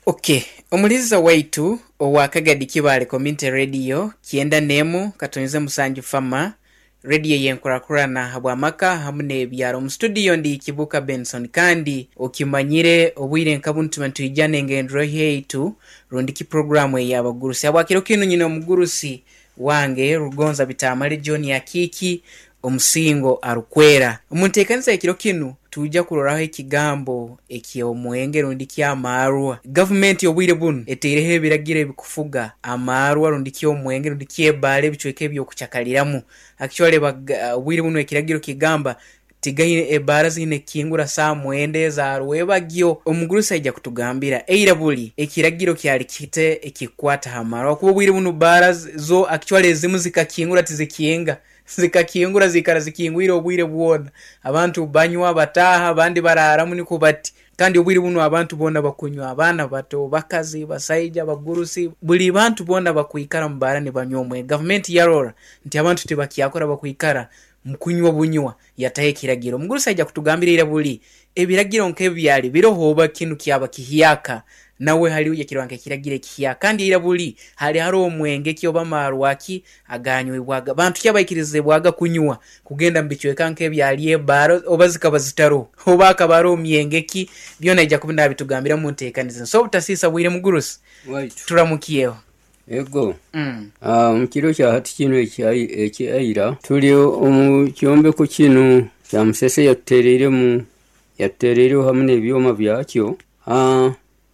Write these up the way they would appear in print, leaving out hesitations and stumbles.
Ok, omuliza waitu owa Kagadi Kibaale Community Radio 91 katonze musanju Fama, radio ey'enkurakurana habw'amaka hamu n'ebyaro. Omu studio ndi Kibuuka Benson kandi okimanyire obwire nka bunu tuba nitwija n'engendererwaho yaitu rundi ki puroguraamu ey'abagurusi. Habwa kiro kinu nyine omugurusi wange Rugonza Bitamale John Akiiki Omusingo arukwera. Omu nteekaniza y'ekiro kinu, twija kuroraho ekigambo eky'omwenge rundi ki amaarwa. Gavumenti obwire bunu etaireho ebiragiro ebikufuga amaarwa rundi ki omwenge rundi ki ebbaara ebicweka eby'okucakaliramu. Actually obwire bunu ekiragiro kigamba tigaine ebbaara ziine kukingura saaha mwenda eza rwebagyo. Omugurusi aija kutugambira eira buli ekiragiro kyali kita ekikukwata ha maarwa habwokuba obwire bunu bbaara zo actually ezimu zikakingura tizikinga. Zikakingura ziikara zikingwire obwire bwona. Abantu banywa, bataaha, abandi baraaramu nikwo bati. Kandi obwire bunu abantu boona bakunywa, abaana bato, bakazi, basaija, bagurusi, buli bantu boona bakwikara mu baara nibanywa omwenge. Gavumenti yarora nti abantu tibakyakora bakwikara mu kunywa bunywa, yataho ekiragiro. Omugurusi aija kutugambira ira buli ebiragiro nk'ebi byali biroho oba kinu kyaba kihyaka. Nawe hali yakirora nk'ekiragiro ekihyaka. Kandi ira buli hali haroho mwenge ki oba maarwa ki agaanywibwaga. Bantu ki abaikirizibwaga kunywa kugenda mu bicweka nk'ebyali ebbaara oba zikaba zitaroho? Oba hakaba haroho myenge ki? Byona aija kuba naabitugambira mu nteekaniza. So obutasiisa bwire mugurusi, Waitu. turamukyeho. Ego. Omu kiro kya hati kinu ekya ira, tuli omu kyombeko kinu kya Musese yatutereiremu, yatutereireho hamu n'ebyoma byakyo.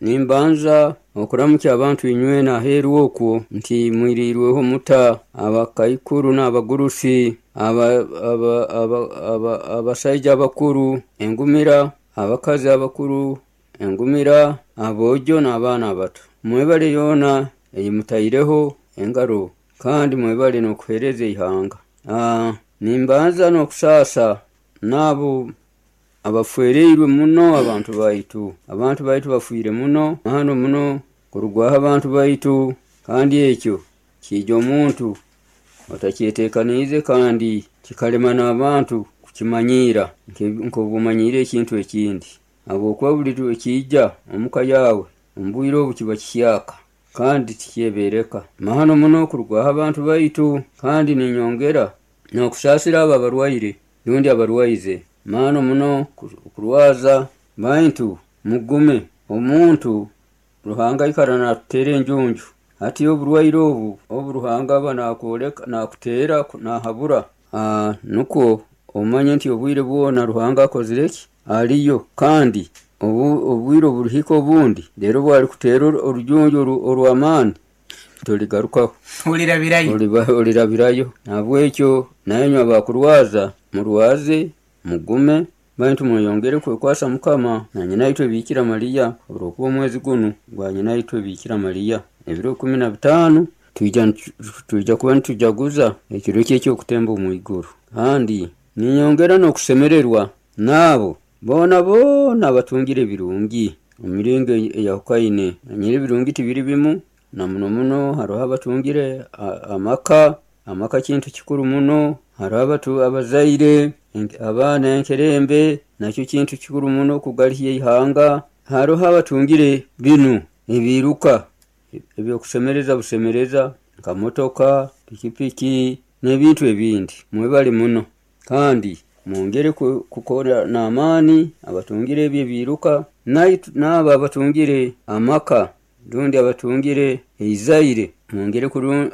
Nimbanza okuramukya abantu inywena aheeru okwo nti mwiriirweho muta, abakaikuru n'abagurusi, abasaija abakuru, engumira, abakazi abakuru, engumira, aboojo n'abaana abato. Mwebale yoona ei mutaireho engaro kandi mwebale n'okuheereza eihanga. Nimbanza n'okusaasa n'abo Abafwereirwe muno abantu baitu. Abantu baitu bafwire muno hano muno kurugwaho abantu baitu kandi ekyo kiija omuntu otakyetekaniize kandi kikalema n'abantu kukimanyiira nk'obu omanyiire ekintu ekindi habwokuba buli ekiija omuka yaawe omu bwire obu kiba kihyaka kandi tikyebereka. Mahano muno kurugwaho abantu baitu kandi ninyongera n'okusaasira abo abarwaire rundi abarwaize. Maani muno kurwaza, baitu mugume. Omuntu Ruhanga aikara naatuteera enjunju. Hati oburwaire obu, obu Ruhanga aba naakwoleka, naakuteera, naahabura, nukwo omanye nti obwire bwona Ruhanga akozire ki? Aliyo. Kandi obwire oburihika obundi, reero obu arikuteera orujunju orw'amaani, Toligarukaho. Olirabirayo. Olirabirayo. Nahabwekyo nainywe abakurwaza, murwaze, mugume, baitu mweyongere kwekwasa Mukama na Nyinaitwe Biikira Mariya, habw'okuba omwezi gunu gwa Nyinaitwe Biikira Mariya. Ebiro 15 twija kuba nitujaguza ekiro kye eky'okutemba omu iguru. Kandi ninyongera n'okusemererwa n'abo boona boona abatungire ebirungi omu miringo eyahukaine. Manyire ebirungi tibiri bimu, Na muno muno haroho abatungire amaka, amaka kintu kikuru muno, haroho abazaire, abaana enkerembe nakyo kintu kikuru muno kugalihya eihanga, haroho abatungire binu ebiiruka eby'okusemereza busemereza nka motoka, pikipiki n'ebintu ebindi. Mwebale muno kandi mwongere kukora n'amaani abatungire ebi ebiiruka n'abo abatungire amaka. Rundi abatungire eizaire, mwongere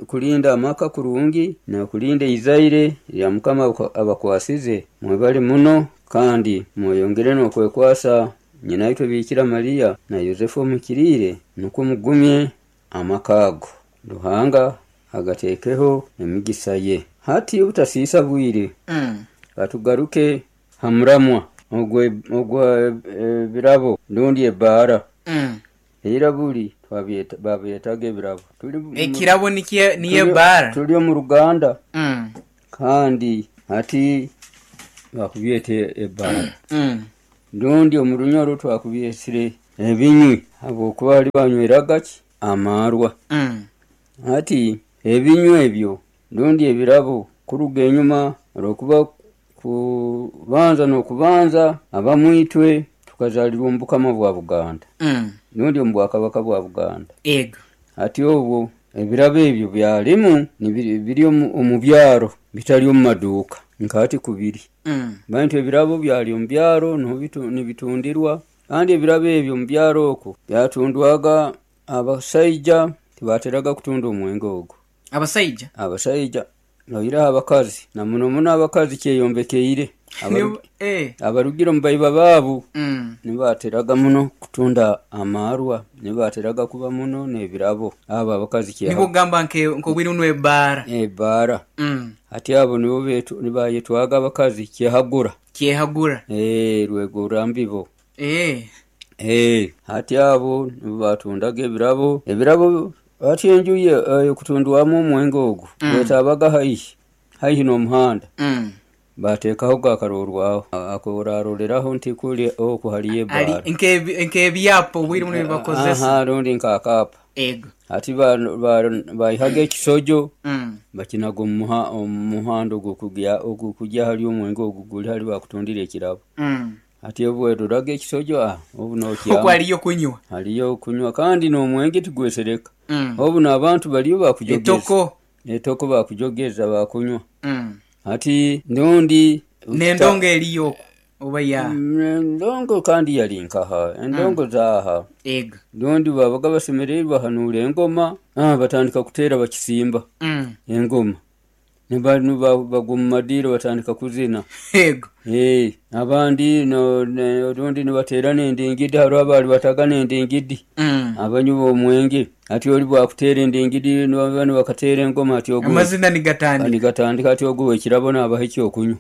kulinda amaka kurungi n'okulinda eizaire erya Mukama abakwasize. Mwebale muno kandi mweyongere n'okwekwasa Nyinaitwe Biikira Mariya na Yosefu Omuhikiriire nukwo mugumye amaka ago. Ruhanga agateekeho emigisa ye. Hati obutasiisa bwire, katugaruke ha muramwa ogw'ebirabo rundi ebbaara. Eira buli babyetaga ebirabo. Ekirabo niyo ebbaara. Tuli omu Ruganda kandi hati bakubyeta ebbaara. Rundi omu Runyoro twakubyesire ebinywi habwokuba hali banyweraga ki? Amaarwa. Hati ebinywi ebyo rundi ebirabo kuruga enyuma olwokuba kubanza n'okubanza abamwe itwe. Tukazaalirwa omu Bukama bwa Buganda, nundi omu Bwakabaka bwa Buganda. Ego. Hati obwo ebirabo ebyo byalimu biri omu byaro, bitali omu maduuka nka hati kubiri. Baitu ebirabo byali omu byaro nuho nibitundirwa, kandi ebirabo ebyo omu byaro oku byatundwaga abasaija, tibaateraga kutunda omwenge ogu. Abasaija? Abasaija, oihireho abakazi, na muno muno abakazi kyeyombekeire. Abarugire omu baiba baabu nibo baateraga muno kutunda amaarwa, nibo baateraga kuba muno n'ebirabo. Abo abakazi Nibo ogamba nk'obwire bunu ebbaara? Ebbaara. Hati abo nibo bayetwaga abakazi kyehagura. Kyehagura. Rwegura mbibo. Hati abo nibo batundaga ebirabo. Ebirabo hati enju ey'okutundwamu omwenge ogu bwetaabaga haihi, haihi n'omuhanda, bateekahoga akaroorwaho akoraaroreraho nti kuli oku haliyo ebbaara. Nk'ebyapa obwire bunu ebibakozesa. Aha, rundi nk'akaapa. Ego. Hati baihaga ekisojo bakinaga omu muhanda ogukugya hali omwenge ogu guli hali bakutundira ekirabo. Hati obu weroraga ekisojo, obu nokyama. Oku haliyo kunywa. Haliyo kunywa kandi n'omwenge tigwesereka. Obu n'abantu baliyo bakujogeza. Etoko. Etoko bakujogeza bakunywa. Hati rundi N'endongo eriyo oku oba ya? Endongo kandi yali nkaha? Endongo zaaha. Ego. Rundi babaga basemereirwe bahanuura engoma, batandika kuteera bakisimba engoma. Bagwa omu madiiro batandika kuzina. Ego. Abandi rundi nibateera n'endingidi, haroho abaali bataga n'endingidi, abanywi b'omwenge. Hati oli bwakuteera endingidi banu bakateera engoma hati ogu Amazina nigatandika. Nigatandika hati ogu ow'ekirabo naabaha ekyokunywa.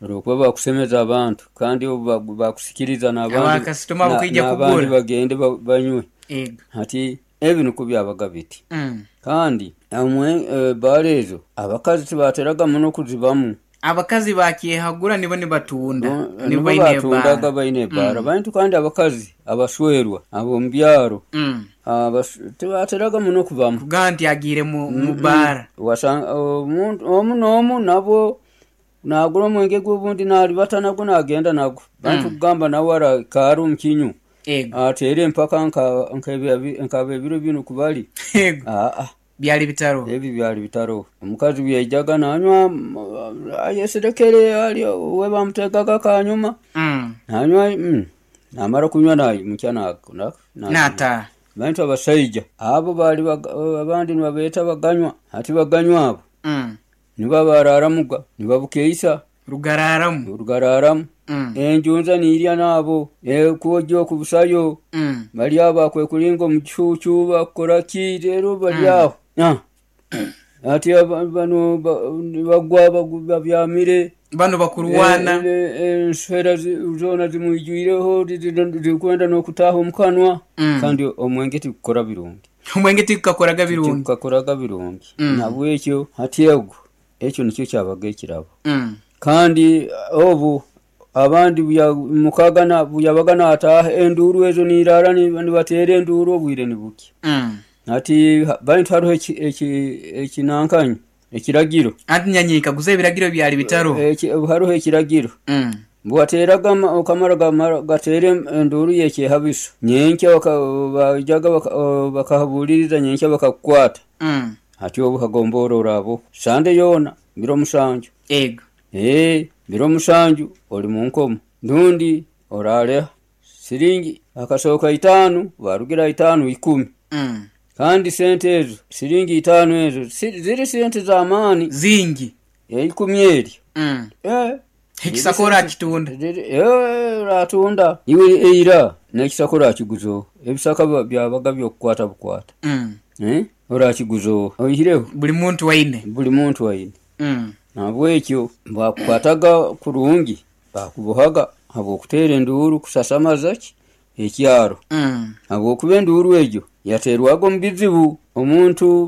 Olwokuba bakusemeza abantu kandi obu bakusikiriza Abakasitoma abakwija n'abandi kugura. bagende banywe. Ego. Hati ebi nukwo byabaga biti. Kandi ebbaara ezo abakazi tibaateraga muno kuzibamu. Abakazi bakyehagura nibo nibatunda, nibo Nibo baine batundaga ebbaara. baine ebbaara. Baitu kandi abakazi abaswerwa ab'omu byaro tibaateraga muno kubamu. Kugamba nti agiire mu bbaara. Omu n'omu nabwo naagura omwenge gwe obundi naalibata nagwo naagenda nagwo. Baitu kugamba nawe araikaara omu kinyu Ego. ateere empaka nk'ab'ebiro binu kubali. Ego. Aa. Byali bitaroho. Ebi byali bitaroho. Omukazi obu yaijaga nanywa ayeserekere ali we bamuteegaga akanyuma, nanywa namara kunywa naimukya Naataaha. Baitu abasaija abo baali abandi nibabeeta baganywa. Hati baganywa abo nibo abaaraaramuga nibabukeisa. Rugaraaramu. Rugaraaramu. Enjunza niirya naabo, kwogya okubusayo, bali aho bakwekulinga omu kicuucu bakukora ki reero bali aho. Hati banu nibagwa babyamire. Banu bakurwana. Enswera zoona zimwijwireho zirikwenda n'okutaaha omu kanwa. Kandi omwenge tigukora birungi. Omwenge tigukakoraga birungi. Tigukakoraga birungi. Nahabwekyo hati ogwo ekyo nikyo kyabaga ekirabo. Kandi obu abandi mukaga buyabaga naataaha enduuru ezo niiraara nibateera enduuru obwire nibukya. Hati baitu haroho ekinankanyi ekiragiro. Anti nyanyikaguza ebiragiro byali bitaroho. Haroho ekiragiro. Bwateeraga okamara gateera enduuru y'ekyehabiso, nyenkya baijaga bakahabuuliriza nyenkya bakakukwata. Hati obu hagomboora oraaba Sande yoona biro 7. Ego. Biro 7 oli mu nkomo rundi oraaleha siringi akasooka 5 barugira 5 10. Kandi sente ezo siringi 5 ezo ziri sente z'amaani. Zingi. 10 eryo. Ekisaka orakitunda. Oratunda. Iwe eira n'ekisaka orakiguza oha? Ebisaka byabaga by'okukwata bukwata. Orakiguza oha? Oihireho. Buli muntu aine. Buli muntu aine. Nahabwekyo bakukwataga kurungi, bakubohaga habw'okuteera enduuru kusasamaza ki? Ekyaro. Habwokuba enduuru egyo yateerwaga omu bizibu. Omuntu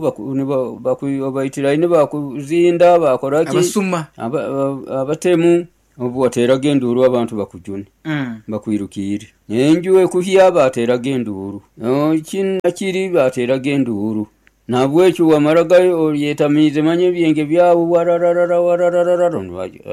baitiraine bakuzinda bakora ki? Abasuma. Abatemu. Obu wateeraga enduuru abantu bakujune, bakwirukiire. Enju ekuhya bateeraga enduuru. Kinu na kiri bateeraga enduuru. Nahabwekyo wamaraga oyetamiize manya ebyenge byawe warararara warararara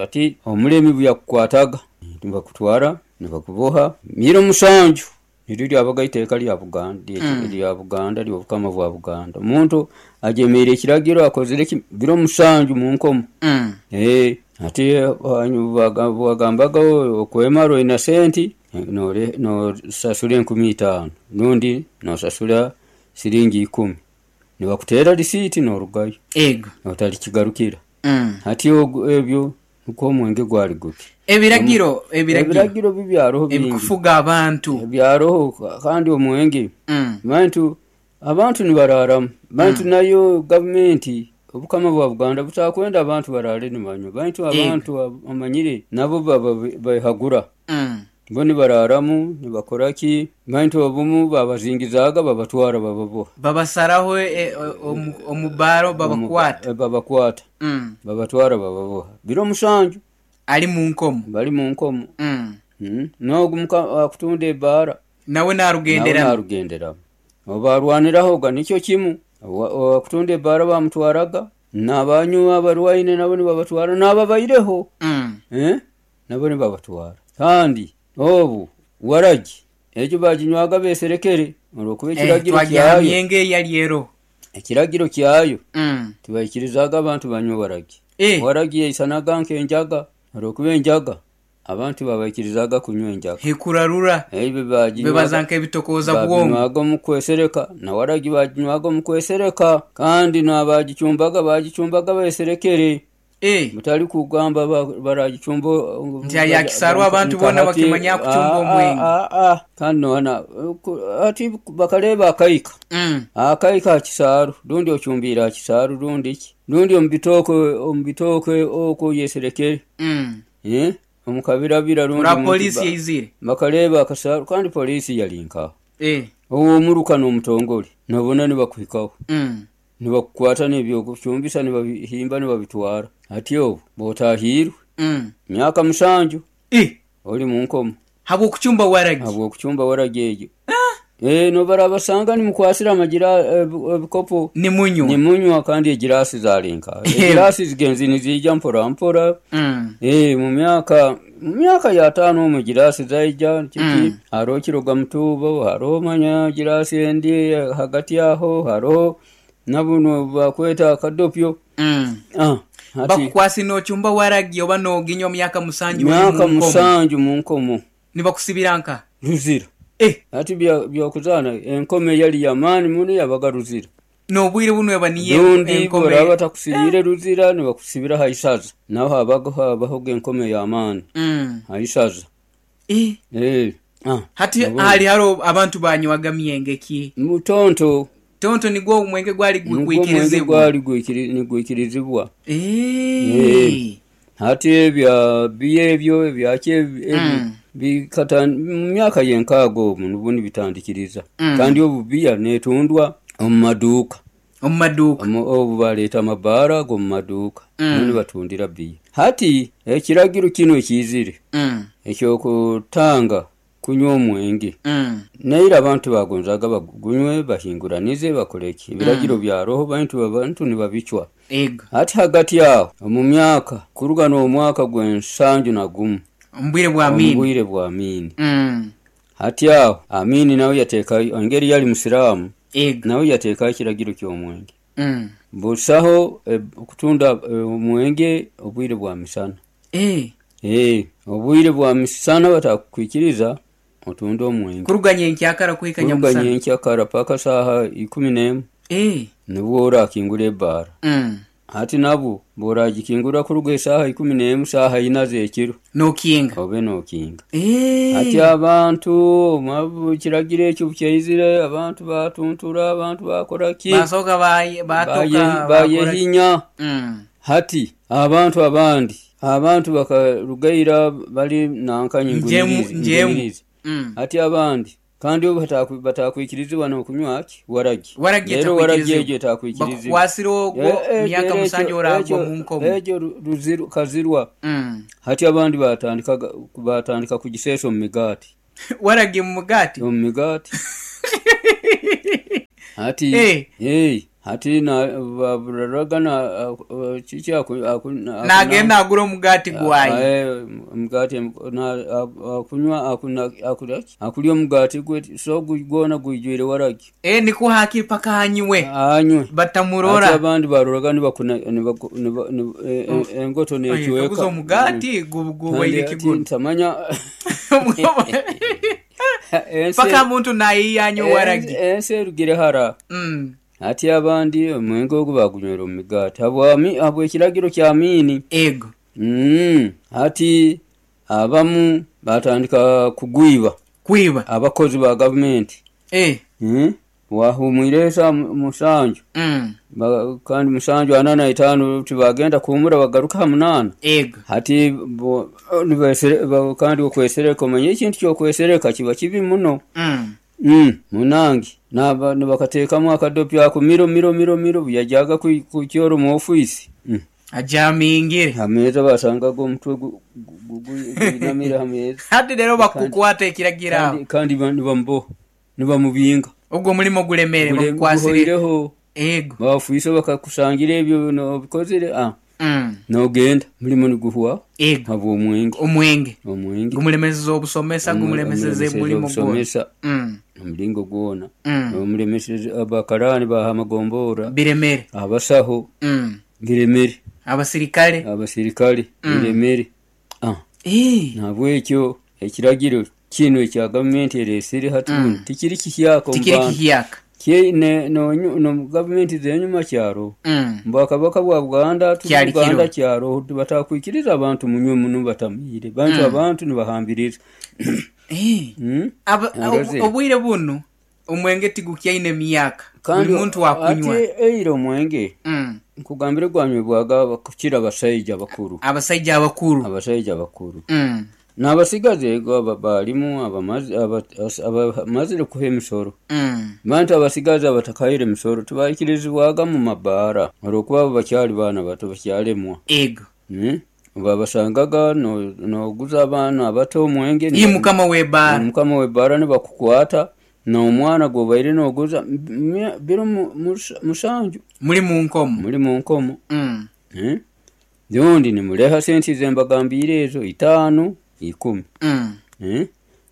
ati omulemi obu yakukwataga. Nibakutwara nibakuboha miro 7, niryo lyabaga iteeka lya Buganda, lya Buganda, ly'obukama bwa Buganda. Omuntu ajemeire ekiragiro akozire ki biro 7 mu nkomo. Ati wagambaga okwemara oina senti nosasura 5,000 rundi nosasura siringi 10, nibakuteera risiiti norugayo. Ego. Otalikigarukira. Hati ebyo nukwo omwenge gwali guti. Ebiragiro Ebiragiro bibyaroho bingi. Ebikufuga abantu. Byaroho kandi omwenge. Bantu abantu nibararamu. Bantu nayo gavumenti obukama bwa Buganda butakwenda abantu barare nibanywa. Bantu abantu amanyire nabo baba behagura. Bo nibararamu nibakora ki? Bantu obumu babazingizaaga babatwara bababoha. Babasaraho omubaro babakwata. Babakwata. Babatwara bababoha. Biro 7. Ali mu nkomo. Bali mu nkomo. N'ogu akutunda ebbaara. Nawe narugenderamu. Nawe narugenderamu. Obarwaniraho nikyo kimu. Okutunda ebbaara bamutwaraga, n'abanywa abarwaine nabo nibabatwara, n'ababaireho. Nabo nibabatwara. Kandi obu waragi ekyo baginywaga beserekere olwokuba ekiragiro kyayo. Myenge yali ero. Ekiragiro kyayo. Tibaikirizaga abantu banywe waragi. Waragi yaisanaga nk'enjaga, olwokuba enjaga abantu babaikirizaga kunywa enjaga. Hekurarura. Ebyo baginywaga. Bebaza nk'ebitokoza bwongo. Baginywaga omu kwesereka, na waragi baginywaga omu kwesereka, kandi n'abagicumbaga bagicumbaga beserekere. Mutali kugamba baragicumba nti ayakisarwa abantu bona bakimanya kucumba omwenge. Kandi nona ati bakaleba akaika. Akaika akisaru, rundi ocumbira akisaru rundi ki? Rundi omubitoke oko yeserekere. Omukabirabira rundi Ora polisi yaizire. Bakaleba akasaru kandi polisi yalinka. Owo omuruka n'omutongole nabona nibakuhikaho. Nibakukwata n'ebyokucumbisa nibabihimba nibabitwara. Ati obu botahirwe. Myaka 7. Oli mu nkomo. Habwokucumba waragi. Habwokucumba waragi egyo. Nobarabasanga nimukwasira amagira ebikopo. Nimunywa. Nimunywa kandi egirasi zalinka. Egirasi zigenzi nizija mpora mpora. Mu myaka ya 5 omu girasi zaija kiki. Haro kiroga mutubo, haro manya girasi endi hagati aho, haro nabuno bakweta akadopyo. Bakukwasi nochumba waragi oba noginywa myaka 7 Myaka 7 mu nkomo. Nibakusibira nka? Ruzira. Ati byokuzana enkome yali yamaani muno yabaga ruzira. Nobwire buno eba niye enkome. Rundi batakusibire ruzira nibakusibira haisaza. Naho habaga habaho enkome yamaani. Haisaza. Hati hali haro abantu banywaga myenge ki? Mutonto. Tonto nigwo omwenge gwali gwikirizibwa. Gwali gwikirizibwa. Hati ebya biebyo ebyake bikata myaka yenkago munubundi bitandikiriza. Kandi obubiya netundwa omu maduuka. Omu maduuka. Obu baleeta amabaara g'omu maduuka. None batundira biya. Hati ekiragiro kino ekizire. Ekyokutanga kunywa omwenge. Naira abantu bagonzaga bagunywe bahinguranize bakoleki. Ebiragiro bya roho abantu nibabicwa. Hati hagati yaho omu myaka kuruga n'omwaka gw'ensanju na gumu. Ombwire bwa Amini. Ombwire bwa Amini. Hati aho Amini nawe yateeka engeri yali musiraamu. Nawe yateeka ekiragiro ky'omwenge. Busaho okutunda omwenge obwire bwa misana. Obwire bwa misana batakwikiriza otunda omwenge. Kuruga nyenkyakara kuhika nyamusana. Kuruga nyenkyakara paka saha 11. Nibwo orakingura ebbaara. Hati nabo boragikingura kuruga esaha 11 saha 4 z'ekiro. Nokinga. Obe nokinga. Hati abantu mabu kiragiro ekyo kyaizire abantu batuntura abantu bakora ki? Basoka batoka bayehinya. Hati abantu abandi abantu bakarugaira bali nankanye ngwirizi. Hati abandi kandi batakwikirizibwa n'okunywa ki? Waragi. Waragi Rero waragi egyo etakwikirizibwa. Bakukwasira ogwo myaka 7 oragwa mu nkomo. Egyo ruziru kazirwa. Hati abandi batandika kugiseesa omu migaati. Waragi mu mugaati? Omu migaati. Hati Hati baburaraga kiki Nagenda agura omugati gwaye. Omugati akunywa, akulya omugati gwe, so gwona gwijwire waragi. Nikwo hakiri paka anywe. Anywe. Batamurora. Hati abandi baroraga engoto necweka. Kaguza omugati gubaire kiguru. Ntamanya. Paka muntu nayiya anywe waragi. Ensi erugire hara. Hati abandi omwenge ogu bagunywera omu migaati habw'ekiragiro kya Amini. Ego. Hati abamu batandika kugwiba. Kwiba. Abakozi ba gavumenti. Wahumwire esa 7. Kandi 7:45 tibagenda kuhumura bagaruka ha 8. Ego. Hati kandi okwesereka, omanye ekintu ky'okwesereka kiba kibi muno. Munangi nibakateekamu akadopi ako miro miro miro miro yajaga kukyoro mu ofisi. Ajamingire. Hameza basangaga omutwe gwinamire hameza. Hati rero bakukwata ekiragira aho. Kandi nibamboha, nibamubinga. Ogwo omulimo gulemere bakukwasire. Ego. Bafuisa bakakusangira ebyo nobikozire. Nogenda mulimo niguhwa. Ego. Habw'omwenge. Omwenge. Omwenge. Gumulemeseza obusomesa, gumulemeseza emulimo gwona. Omulingo gwona. Omulemeseza abakarani baha amagombora. Biremere. Abasaho. Biremere. Abasirikale. Abasirikale. Biremere. Nabwekyo ekiragiro kino ekya gavumenti eresire hati tikiri kihyaka. Tikiri kihyaka. No gavumenti zenyuma kyaro. Mbwakabaka bwa Buganda Buganda kyaro batakwikiriza abantu munywe muno batamire. Bantu abantu nibahambiriza. Obwire buno omwenge tigukyaine emyaka. Buli muntu akunywa. Ati eira omwenge. Nkugambire gwanywebwaga kukira abasaija abakuru. Abasaija abakuru. Abasaija abakuru. N'abasigazi balimu abamazire kuha emisoro. Bantu abasigazi abatakaire emisoro tibaikirizibwaga mu mabaara olwokuba bakyali baana bato bakyalemwa. Ego. Babasangaga noguza abaana abato omwenge. Ii mukama w'ebbaara. Mukama w'ebbaara nibakukwata n'omwana gwobaire noguza biro 7. Muli mu nkomo. Muli mu nkomo. Rundi nimuleha sente zembagambiire ezo 5 10.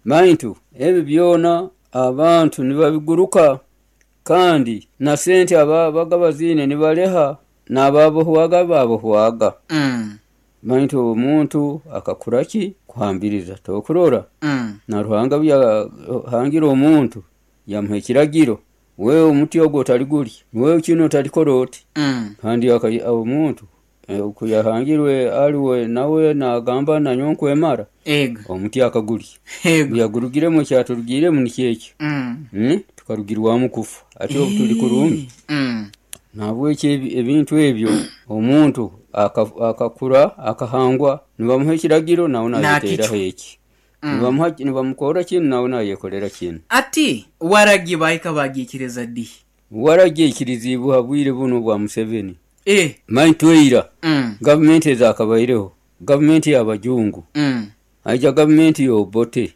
Bantu ebyo byona abantu nibabiguruka kandi na sente ababaga bazine nibaleha n'ababohwaga babohwaga. Bantu omuntu akakuraki kuhambiriza tokurora. Na Ruhanga byahangira omuntu yamuha ekiragiro, wewe omuti ogwo otaligulya, wewe kino otalikora oti. Kandi omuntu kuyahangirwe aliwe nawe nagamba nanyo nkwemara. Ego. Omuti akagulya. Ego. Yagurugiremu ekyaturugiremu nikyekyo. Tukarugirwamu kufa. Ati obu tuli kurungi. Nabwekyo ebintu ebyo omuntu akakura akahangwa nibamuha ekiragiro nawe nayeteraho eki. Nibamukora kinu nawe nayekolera kinu. Ati waragi bahika bagikiriza di? Waragi ikirizibwa bwire buno bwa Museveni. Mantu eira. Gavumenti ezakabaireho, gavumenti y'abajungu. Aija gavumenti y'Obote.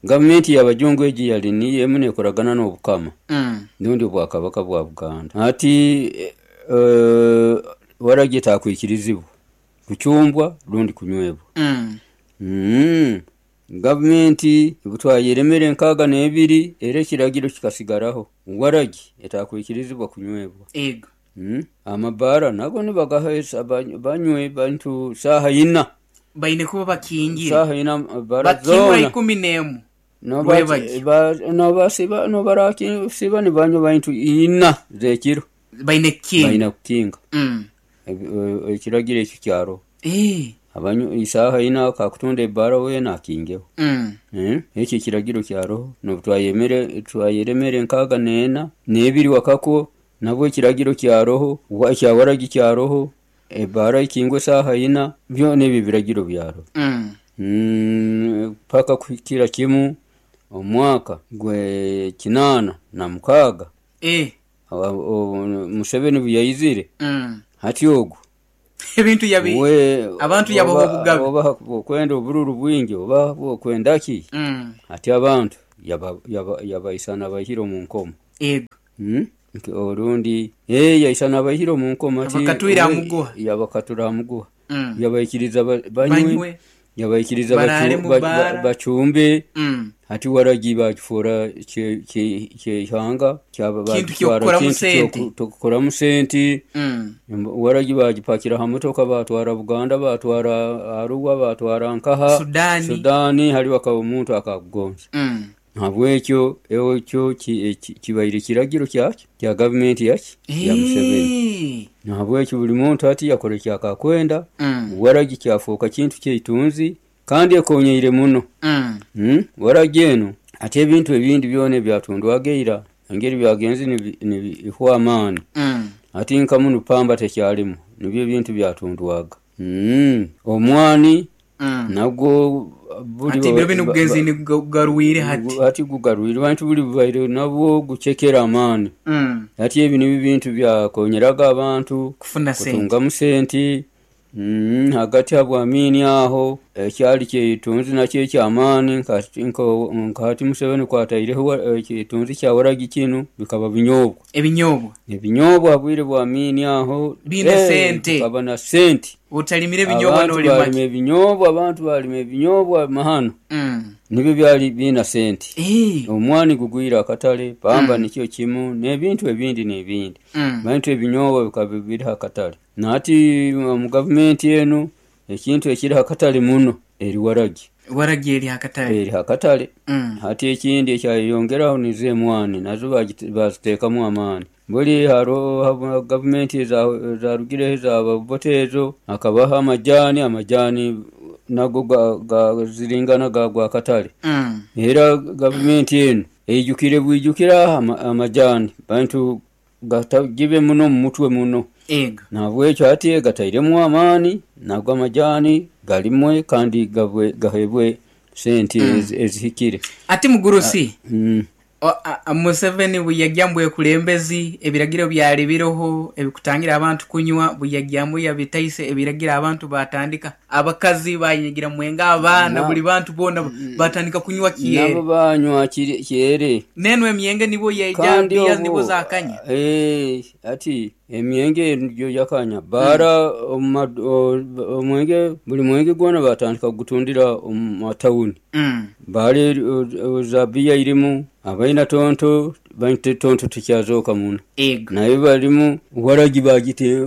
Gavumenti y'abajungu egi yali niyo emu nekoragana n'obukama. Nundi obwakabaka bwa Buganda. Ati waragi etakwikirizibwa kucumbwa rundi kunywebwa. Gavumenti butwayeremere 62 era ekiragiro kikasigaraho waragi etakwikirizibwa kunywebwa. Ego. Amabaara nago nibagahesa banywe bantu saha 4. Baine kuba bakingire. Saha 4 bara zona. Bakingura 11. Nobasiba nobarakisiba nibanywa bantu 4 zekiro. Baine kukinga. Baine kukinga. Ekiragiro ekyo kyaro. Abanyu isaha 4 akakutunda ebara wena akingeho. Ekyo ekiragiro kyaro nobutwayemere twayeremere 64 n'ebiri wakako nabwo ekiragiro kyaroho ekyawaragi kyaroho ebara ikingwe saha 4 byona ebyo biragiro byaro. Paka kuhikira kimu omwaka gwe 86. Museveni buyayizire. Hati ogwo ebintu yabi abantu yabo obugabe oba okwenda obururu bwingi oba okwenda ki. Ati abantu yabaisana bahiro mu nkomo. Ego. Orundi yaisana abaihire omu nkomo ati Abakatwire ha muguha. Yabakatura ha muguha. Yabaikiriza banywe, Banywe. Yabaikiriza Barare mu bara. Bacumbe. Hati waragi bagifuura kyeihanga Kintu bagitwara ky'okukoramu kintu sente. Ky'okukoramu sente. Waragi bagipakira ha motoka, batwara Buganda, batwara Arua, batwara nkaha Sudani. Sudani hali bakaba omuntu akakugonza. Habwekyo ekyo kibaire kiragiro kyaki kya gavumenti yaki ya Museveni. Nahabwekyo buli muntu hati yakora ekyakakwenda. Waragi kyafuuka kintu kyeitunzi kandi ekonyeire muno. Waragi enu ati ebintu ebindi byona ebyatundwaga eira engeri byagenze nibihwa amaani. Ati nka munu pamba tekyalimu, nibyo ebintu byatundwaga. Omwani nagwo buli Ati ebiro binu gugenze gugarwire hati. Hati gugarwire, bantu buli bubaire nabwo gucekera amaani. Hati ebi nibyo bintu byakonyeraga abantu Kufuna sente. Kutungamu sente. Hagati habwamini aho ekyali kyetunzi nakyo ekyamaani nka hati Museveni kwataireho ekitunzi kya waragi kinu bikaba binyobwa. Ebinyobwa. Ebinyobwa bwire bwamini aho Biine sente. Bikaba na sente. Otalimire ebinyobwa Abantu n'olima balima ki? ebinyobwa, abantu balima ebinyobwa mahano. Nibyo byali biina sente. Omwani gugwire akatale, pamba nikyo kimu n'ebintu ebindi n'ebindi. Bantu ebinyobwa bikaba biri akatale. Nati mu gavumenti enu ekintu ekiri akatale muno eri waragi. Waragi eri akatale. Eri akatale. Hati ekindi ekyayongeraho nizo emwani nazo baziteekamu amaani. Buli hariho gavumenti ezarugireho ezaba Obote ezo hakabaho amajani, amajani nago gaziringana gagwa akatale. Era gavumenti enu eijukire bwijukira amajani bantu gatagibe muno mu mutwe muno. Ego. Nahabwekyo hati gatairemu amaani nago amajani galimwe kandi gahebwe sente ezihikire. Ati mugurusi. Museveni bwe bwekulembezi ebiragiro byali biroho ebikutangira abantu kunywa, bwe yabitaise ebiragiro abantu batandika, abakazi bayinyigira mwenga, abaana buli bantu bona batandika kunywa kiere. Nabo banywa kiere. Neno emyenge nibo yeija bia nibo zakanya. Ati emyenge yo yakanya bara omwenge buli mwenge gwona batandika kugutundira omu matawuni. Bale zabia irimu abaina tonto bainte tonto tikyazoka muno. Naye balimu waragi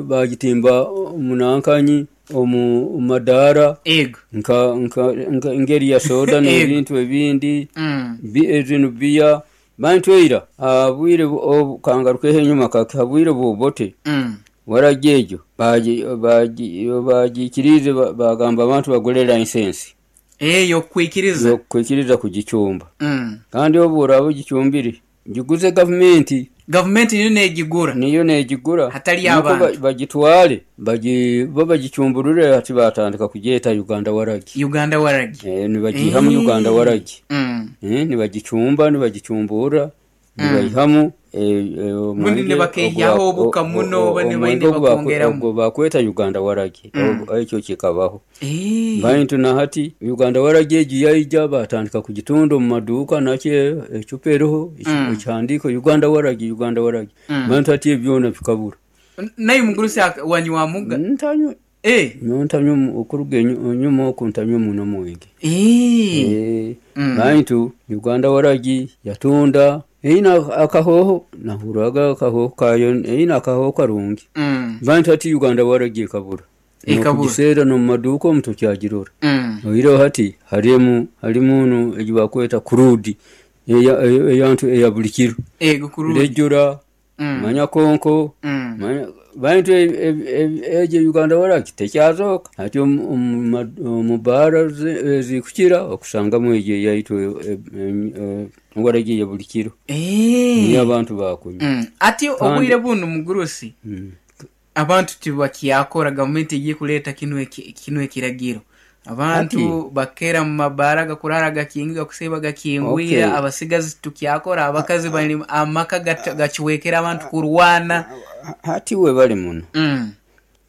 bagitimba munankanyi omu madara. Nka ngeri ya soda n'ebintu ebindi. Ezino bia bantu eira abwire kangarukeho enyuma kabwire bwobote. Waragi ejo bagikirize bagamba abantu bagule license. Yokwikiriza. Yokwikiriza kugichumba. Kandi obu oraba ogichumbire giguze gavumenti. Gavumenti niyo negigura. Niyo negigura. Hatali abantu. Bagitwale, bo bagichumburure ati batandika kugyeta Uganda waragi. Uganda waragi. Nibagihamu Uganda waragi. Nibagichumba, nibagichumbura, nibayihamu. Bundi nibakeihyaho obuka muno, bane baine bakongeramu. Bakweta Uganda waragi. Ekyo kikabaho. Bantu na hati Uganda waragi egi yaija batandika kugitunda omu maduuka nakyo ecupa eriho ekihandiiko Uganda waragi, Uganda waragi. Bantu hati ebyona bikabura. Naye mugurusi wanywa muga? Ntanywa. Ntanywa okuruga enyuma oku ntanywa muno mwenge. Bantu Uganda waragi yatunda eina akahoho nahuraga akahoho kayo eina akahoho karungi. Bantu hati Uganda waragi ekabura. Ekugiseera n'omu maduuka omu tokyagirora. Oireho hati harimu egi bakweta kurudi eyantu eya buli kiro. Ego kurudi. Rejura, manya konko, manya bantu egi Uganda waragi tekyazoka. Hati omu baara ezikukira okusangamu egi eyaitu waragi ya buli kiro. Niyo abantu bakunywa. Ati obwire bunu mugurusi. Abantu tibakyakora gavumenti egiye kuleeta kino ekiragiro. Abantu bakera mu mabara gakurara gakinga kuseba gakingwira. Abasigazi tukyakora abakazi bali amaka gachiwekera abantu kurwana. Hati we bali muno.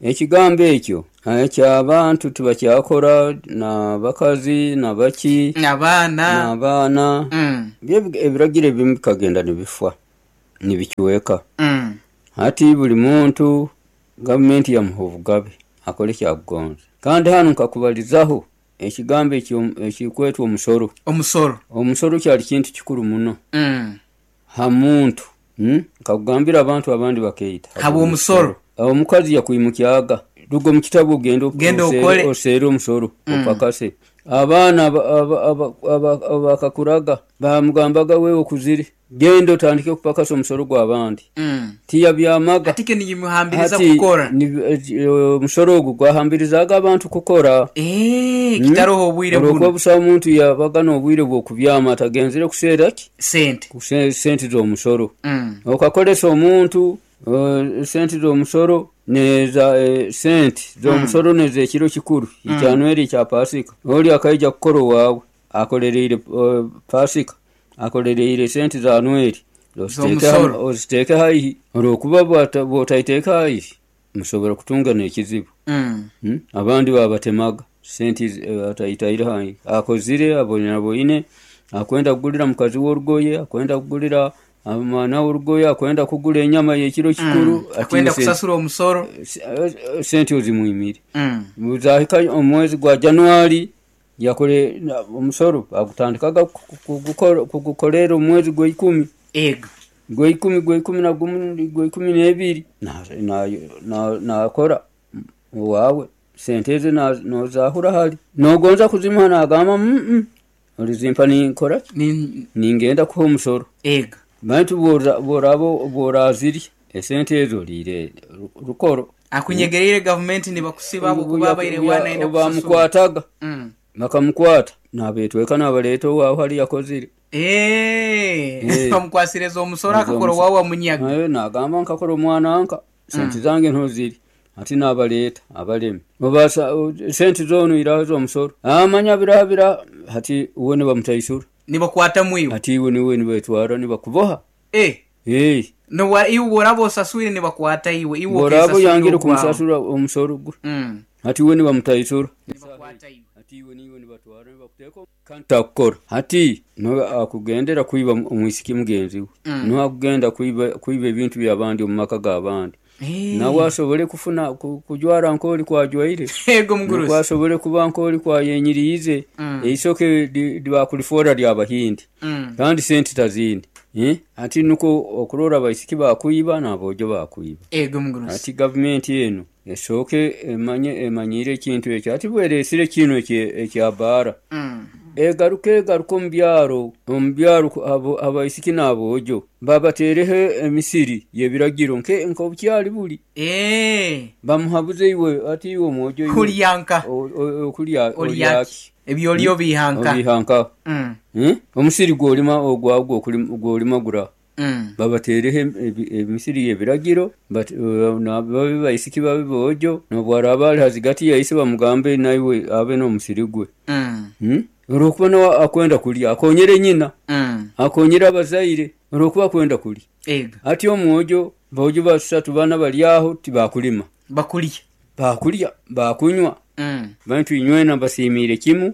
Ekigambo ekyo ekyabantu tibakyakora na bakazi na baki n'abaana. N'abaana. Ebiragiro ebimu bikagenda nibifa. Nibicweka. Hati buli muntu gavumenti yamuha obugabe akole ekyakugonza. Kandi hanu nkakubalizaho ekigambo ekikwetwa omusoro. Omusoro. Omusoro kyali kintu kikuru muno ha muntu. Nkakugambira abantu abandi bakaita Habw'omusoro. Omukazi yakwimukyaga, ruga omu kitabu ogende Genda okole. Oseere omusoro, opakase. Abaana abakakuraga bamugambaga, wewe okuzire, genda otandike kupakasa omusoro gw'abandi. Tiyabyamaga. Hati kyo nibimuhambiriza Hati kukora. Omusoro ogu gwahambirizaga abantu kukora. Kitaroho obwire Olwokuba bunu. Busaho omuntu yabaga n'obwire bw'okubyama atagenzere kuseera ki? Sente. Sente z'omusoro. Okakolesa omuntu sente z'omusoro neza sente z'omusoro n'ez'ekiro kikuru ekya Noheri, ekya Pasika. Oli akaija kukora owaawe akolereire Pasika, akolereire sente za Noheri, Z'omusoro. Oziteeke haihi, olwokuba bw'otaiteeka haihi musobora kutunga n'ekizibu. Abandi babatemaga sente ataitaire haihi, akozire aboinaboine, akwenda kugulira mukazi we orugoye, akwenda kugulira omwana we orugoye, akwenda kugula enyama y'ekiro kikuru. Akwenda kusasura omusoro. Sente ozimwimire. Zahika omwezi gwa January, yakore omusoro bagutandikaga kugukolera omwezi gwa ikumi. Ego. Gwa ikumi, gwa 11, gwa 12, nakora owaawe sente ezi nozahura hali nogonza kuzimuha, nagamba, olizimpa ninkoraki? Ningenda kuha omusoro. Ego. Baitu bworaba bworazirya esente ezo oliire rukoro. Akunyegereire gavumenti nibakusiba habwokuba abaire bwana ayenda kusasura. Bamukwataga, bakamukwata nabetweka nabaleta owaawe hali yakozire. Bamukwasiriza omusoro, akakora owaawe wamunyaga. Nagamba, nkakora omwana nka sente zange ntoziri, hati nabaleta abalemi obasa sente zonu iraho z'omusoro, amanya biraha biraha, hati uwe nibamutaisura. Nibakwatamu iwe. Hati iwe niwe nibetwara nibakuboha. Nobwa iwe bworaba osaswire nibakwata iwe, iwe Bworaba okesaswire oyangire ogwawe. Kumusasura omusoro gwe, hati iwe nibamutaisura. Nibakwata iwe. Hati iwe niwe nibatwara nibakuteeka kandi takukora. Hati niwe akugendera kwiba omwisiki mugenzi we, niwe akugenda kwiba ebintu by'abandi omu maka g'abandi, nawe asobole kufuna kujwara nk'oli kwajwaire, Ego mugurusi. nukwo asobole kuba nk'oli kwayenyiriize. Eisoke bakulifoora ly'abahindi, kandi sente tazindi. Hati nukwo okurora abaisiki bakwiba n'aboojo bakwiba. Ego mugurusi. Hati gavumenti enu esooke emanye emanyiire ekintu ekyo. Hati bwereesire kinu ekya baara, egaruke egaruke omu byaro abaisiki n'aboojo babateereho emisiri y'ebiragiro nk'obukyali buli. Bamuhabuze, iwe ati iwe omwojo iwe, Kulya nka. Okulya. Olyaki? Olyaki? Ebyolya obihanka. Obihanka. Omusiri gwolima ogwawe gwolima gura, babateereho emisiri y'ebiragiro, babe baisiki babe boojo, n'obwaraaba ali hazigati ya ise bamugambe naiwe abe n'omusiri gwe. Olwokuba nawe akwenda kulya akonyere nyina, akonyere abazaire, olwokuba akwenda kulya. Ego. Hati omwojo, boojo basatu bana bali aho tibakulima. Bakulya. Bakulya, bakunywa. Baitu inywena mbasiimiire kimu,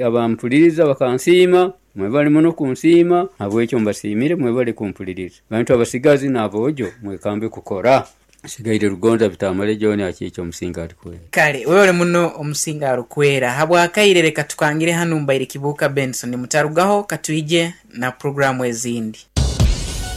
abampuliriza bakansiima, mwebale muno kunsiima, habwekyo mbasiimire, mwebale kumpuliriza. Bantu abasigazi n'aboojo mwekambe kukora. Sigaire Rugonza Bitamale John Akiiki omusinga alikwera. Kale webale muno omusinga arukwera. Habwakaire leka tukangire hanu, mbaire Kibuuka Benson, mutarugaho katwije na puroguramu ezindi.